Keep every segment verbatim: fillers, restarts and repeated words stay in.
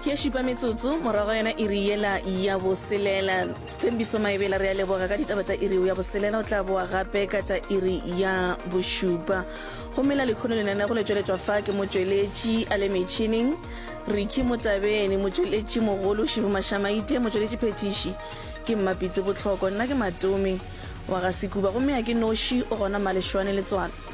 Ke ye šupa metsotso morago ga yona iri yela ya boselela. Sethembiso Maebela, re a leboga ka ditaba tša iri ya boselela. O tla boa gape ka tša iri ya bošupa. Gomme la lekhono lenanego le tšweletšwa fa ke motšweletši a le metšhineng Ricky Motabene, motšweletši mogolo Shibu Mashamaite, motšweletši phethiši ke Mmapitsi Botlhoko, nna ke Matome wa ga Sekuba, gomme a ke noši, o gona Malešwane Letswalo.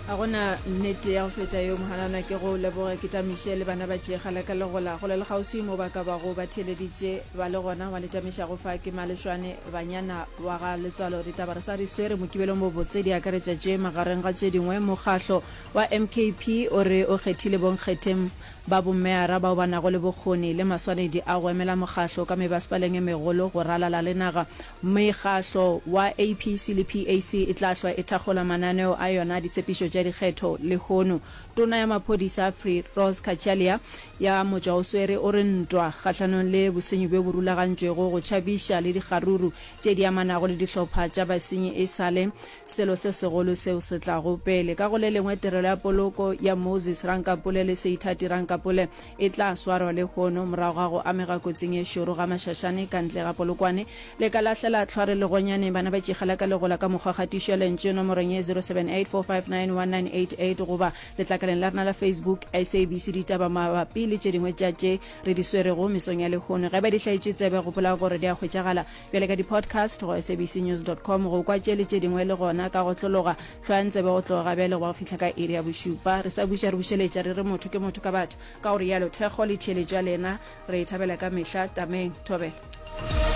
Ga go na nnete ya go feta yeo, Mohanana. Ke go leboge, ke tamiše le bana ba tšeegala ka legola gole le kgauswi mo ba ka bago ba theeleditše ba le gona. Wa le tamišago fa ke Malešwane Banyana wa ga Letswalo. Ditaba re sa di swere Mokibelong bobotse di akaretša tše magareng ga tše dingwe. Mokgahlo wa M K P o re o kgethile bonkgetheng ba bommeara bao ba nago le bokgoni le maswanedi a go emela mokgahlo ka mebasepaleng e megolo go ralala le naga. Mekgahlo wa A P C le P A C e tla hlwa e thakgola mananeo a yona a ditshepišo tša dikgetho lehono. Tona ya maphodisa Firoz Cachalia ya motšwaoswere o re ntwa kgahlanong le bosenyi bjo bo rulagantšwego go tšhabiša le dikgaruru tše di amanago le dihlopha tša basenyi e sa le selo se segolo seo se tlago pele. Ka go le lengwe, tirelo ya poloko ya Moses Rankapole le Seithati Rankapole e tla swarwa lehono morago ga go amega kotsing ye šoro ga Mašašane ka ntle ga Polokwane. Le ka lahlela tlhware legonyaneng bana ba tšigela ka legola ka mokgwa kgatišo ya lentšu nomorong ye zero seven eight four five nine one nine eight eight goba letlakaleng la rena la Facebook S A B C Ditaba mabapi le tše dingwe tša tše re di swerego mesong ya lehono. Ge ba di hlaetše tsebe, gopola gore di a hwetšagala bjale ka di-podcast go S A B C news dot com. Go kwa tše le tše dingwe le gona ka go tlologa, hlwayang tsebe go tloga ga bjale go ba go fihla ka iri ya bošupa. Re sa buša re bušeletša re re motho ke motho ka batho. Ka go rialo, thekgo le theeletšo ya lena re e thabela ka mehla. Tameng. Thobela.